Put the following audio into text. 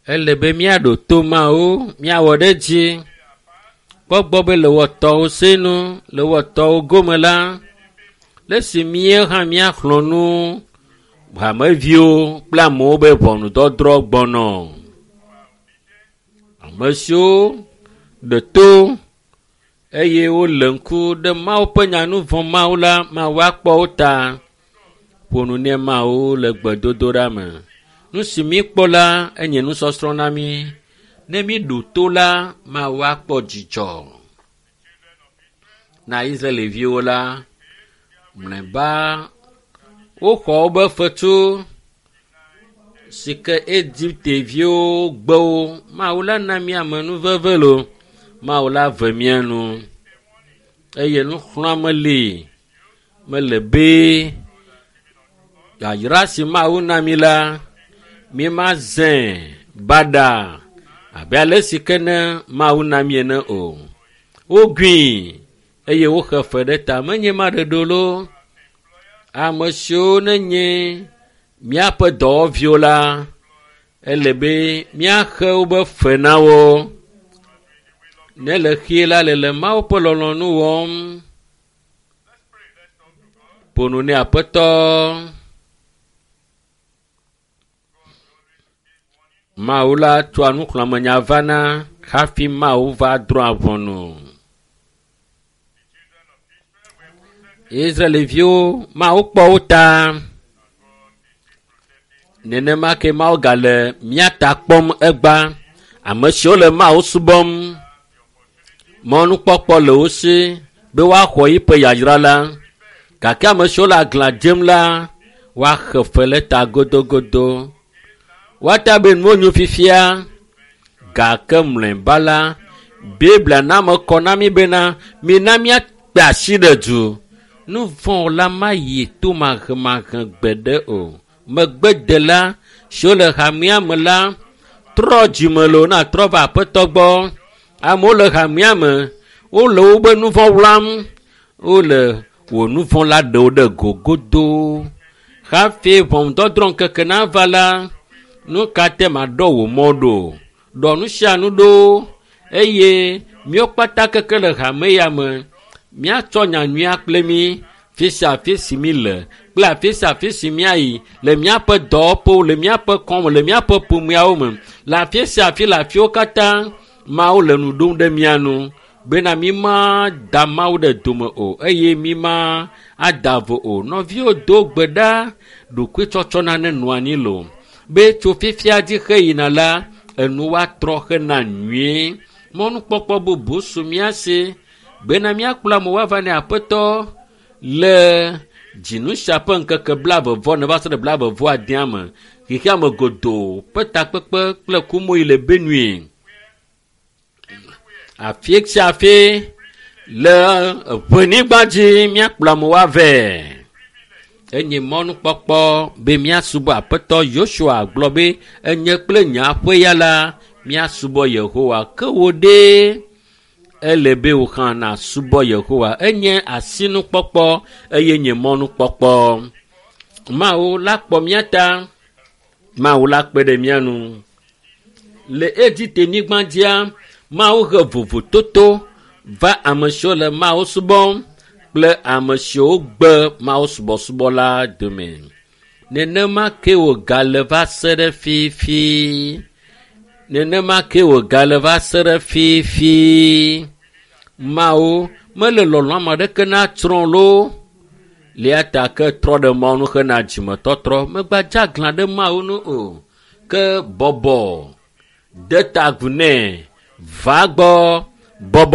Ele be míaɖo to Mawu, míawɔ ɖe edzi. Kpɔ gbɔ be le wɔtɔwo senu, le wɔtɔwo gome la, le esi mía hã míaxlɔ̃ nu hameviwo kple amewo be ʋɔnudɔdrɔ̃ gbɔnɔ. Ame siwo ɖe to eye wole ŋku ɖe Mawu ƒe nya nu vɔ̃ Mawu la, Mawu akpɔ wo ta. Ƒo nu ne Mawu le gbedodoɖa me. Nu si míkpɔ la enye nusɔsrɔ̃ na mí. Ne míɖo to la, Mawu akpɔ dzidzɔ. Na Israelviwo la, mlɔeba woxɔ wobe fetu si ke Egipteviwo gbe wo. Mawu la na mí amenuveve lo. Mawu la ve mía nu eye nuxlɔ̃ame li mele be yayra si Mawu na mí la, mímazẽ baɖa abe ale si ke ne Mawu na mí ene o. Wogui eye woxe fe ɖe ta menye maɖeɖo lo. Ame siwo nenye míaƒe dɔwɔviwo la, ele be míaxe wobe fe na wo. Ne le xie la le le Mawu ƒe lɔlɔ̃nu wɔm. Ƒo nu ne Aƒetɔ. Mawu la tsɔa nuxlɔ̃amenya vana hafi Mawu va drɔ̃a ʋɔnu. Israelviwo, Mawu kpɔ wo ta. Nenema ke Mawu gale mía ta kpɔm egba. Ame siwo le Mawu subɔm, mɔnukpɔkpɔ le wo si be woaxɔ yiƒe yayra la. Gake ame siwo le aglã dzem la, woaxe fe le ta godogodo. Woata be nuwo nyo fifia gake mlɔeba la, Biblia na me kɔ na mí bena mina míakpe asi ɖe du. Nu vɔ̃ la mayi to mahemahe gbeɖe o. Megbedela siwo le hamea me la trɔ dzime loo na trɔ va aƒetɔ gbɔ. Amewo le hamea me, wole wobe nu vɔ̃ wlam, wole wò nu vɔ̃ la ɖewo ɖe go godoo. Hafi ʋɔnudɔdrɔ̃ ŋkeke nava la, nu ka te maɖɔ wò mɔ ɖo? Ɖɔ nu sia nu ɖo eye míawo kpata keke le hame ya me míatsɔ nyanyuia kple mí fi sia afi si míle kple afi sia afi si míayi le míaƒe dɔwɔƒewo, le míaƒe kɔme, le míaƒe ƒomeawo me, le afi sia afi le afiwo katã Mawu le nu ɖom ɖe mía nu bena mí ma da Mawu ɖe dome o eye mí ma ada vo o. Nɔviwo do gbe ɖa ɖokuitsɔtsɔna ne nɔ anyi lo be tso fifia dzi xeyina la enu woatrɔ hena nyuie. Mɔnukpɔkpɔ bubu su mía si bena míakplɔ amewo ava ne Aƒetɔ le dzinu sia ƒe ŋkeke blaeve vɔ ne va se ɖe blaeve vɔ adea me. Xexea me godoo ƒe takpekpe kple kumoyi le Benue. Afi sia afi le ʋenyigba dzi míakplɔ amewo avɛ. Enye mɔnukpɔkpɔ be míasubɔ Aƒetɔ Yosua gblɔ be enye kple nye aƒe ya la míasubɔ Yehowa. Ke wò ɖe ele be wò hã nàsubɔ Yehowa. Enye asinukpɔkpɔ eye nye mɔnukpɔkpɔ. Mawu la kpɔ mía ta. Mawu la kpe ɖe mía nu. Le Egipte nyigba dzia, Mawu he vovototo va ame siwo le Mawu subɔm kple ame siwo gbe Mawu subɔsubɔ la dome. Nenema ke wògale va se ɖe fifi. Nenema ke wògale va se ɖe fifi. Mawu mele lɔlɔ̃ ame aɖeke natsrɔ̃ loo. Lia ta ke trɔ ɖe Mawu nu hena dzimetɔtrɔ. Megbadze aglã ɖe Mawu nu o. Ke bɔbɔ de ta agu nɛ. Va gbɔ bɔbɔ.